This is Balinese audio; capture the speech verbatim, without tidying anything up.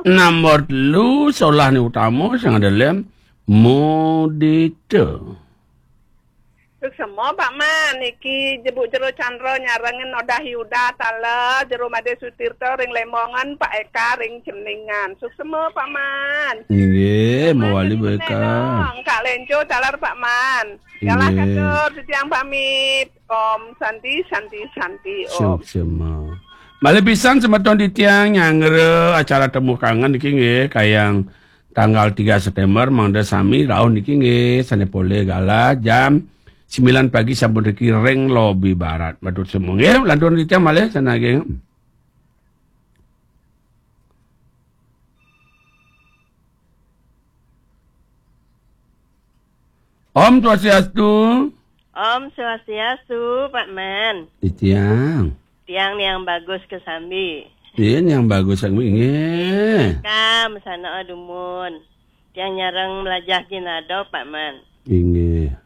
Nombor telu, solah ni utama, sing ada lem, mudita. Suksma, Pak Man. Niki Jebuk Jero Chandra nyarengin Odah Yuda taler, Jero Made Sutirta ring Lemongan, Pak Eka ring Ceningan. Suksma, Pak Man. Nggih, Pak Man, mawali, Bu Eka. Kak Lenco taler, Pak Man. Yalah, nggih. Katur, titiang pamit. Om Santi, Santi, Santi, Om. Suksma. Malih pisan semeton titiang nyanggra acara Temu Kangen niki nggih, kayang tanggal tiga September, mangda sami rauh niki nggih, sane polih galah jam sembilan pagi sampun riki ring lobi barat. Matur suwun nggih, lanturang titiang malih sane nggih. Om Swastiastu. Om Swastiastu, Pak Man. Titiang. Tiang Niang Bagus kesambi. Iya, Niang Bagus kesambi, nggih. Kam sana dumun. Tiang nyareng melajah ginado, Pak Man. Inggih.